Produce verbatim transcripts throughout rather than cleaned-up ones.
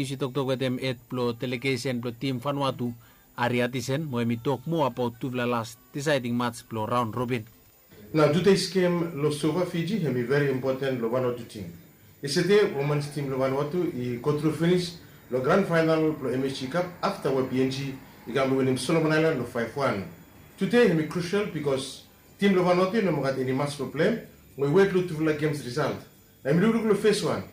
Nius i toktok wetem hed blong delegesen blong tim Vanuatu, Ari Atisen, mo hem i tok moa abaot tufala las disaeding mats blong raon robin. Nao tude i skem long Suva Fiji hem i veri impoten long Vanuatu tim. Yestede womans tim blong Vanuatu i gotru finis long gran faenal blong M S G Cup afta we P N G i kam blong winim Solomon Aelan long faef wan. Tude hem i krusel bikos tim blong Vanuatu i no moa gat eni mats blong plem, mo i wet long tufala gems risalt. Hem i lukluk long fes wan.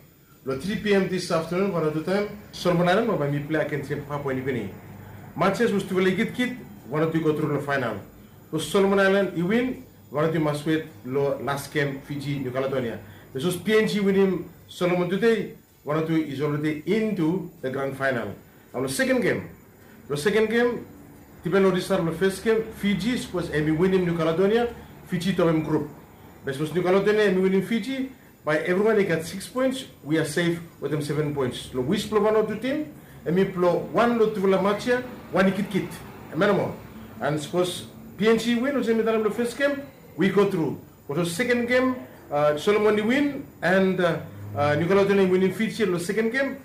Long tri P M dis aftenun Vanuatu taem, Solomon Aelan mo bae hem i plei agens hem Papua Niugini. Matses we tufala i kitkit, Vanuatu i gotru long faenal. Long Solomon Aelan i win, Vanuatu i mas wet long las gem Fiji Niu Kaledonia. Be sapos P N G i winim Solomon tude, Vanuatu is already into the grand final. Nao long seken gem, long seken gem, dipen long risalt blong fes gem, Fiji sapos hem i winim Niu Kaledonia, Fiji i topem grup. Be sapos Niu Kaledonia hem i winim Fiji, bae evriwan i gat sikis poens, wi a sef wetem seven poens. Long wis blong Vanuatu tim, hem i blong wan long tufala mats ya, wan i kitkit. Hem ya nomo. And sapos P N G i win olsem mi talem long fes gem, wi gotru. Olsem seken gem, Solomon i win, and Niu Kaledonia i winim Fiji long seken gem,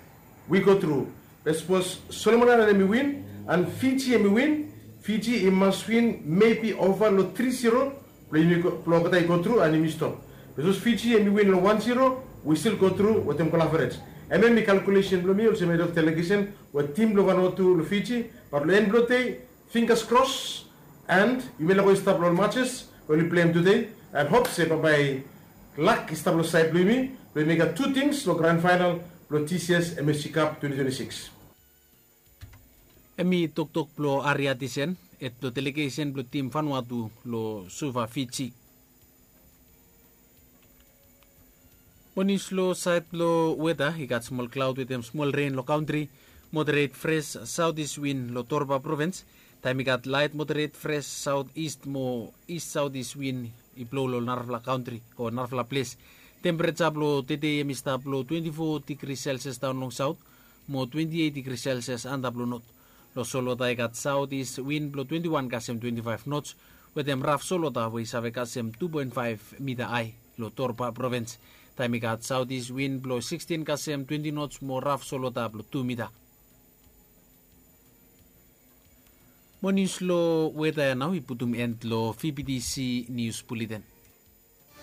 wi gotru. Be sapos Solomon Aelan hem i win, and Fiji hem i win, Fiji i mas win mebi ova long tri zero, blong olgeta i gotru and yumi stop. Be sapos Fiji hem i win long wan zero, wi stil gotru wetem gol averej. Hemia hem i kalkulesen blong mi olsem hed of delegesen we tim blong Vanuatu long Fiji, bat long en blong dei, finggas kros, and yumi lego i stap long ol matses we oli pleim tude, and hop se bambae lak i stap long saed blong yumi, blong yumi gat tu tims long gran faenal blong dis yia M S G Cup twenty twenty-six. Hem i toktok blong Ari Atisen, hed blong delegesen blong tim Vanuatu long Suva Fiji. Mo nius long saed blong weta, i gat smol klaod wetem smol ren long kantri, moderet fres saotis win long Torba provins, taem i gat laet moderet fres saotis mo is saotis win i blo long narafala kantri o narafala ples. Tempereja blong tedei hem i stap long twenti fo digri selsias daon long saot, mo twenti eit digri selsias antap long not. Long solwota i gat saotis win blong twenti wan kasem twenti faef nots, wetem raf solwota we i save kasem tu poen faef mita ae long Torba provins. Taem i gat saotis win blong sikstin kasem twenti nots mo raf solwota blong tu mita. Mo nius long weta ya nao i putum en long V B T C nius buleten.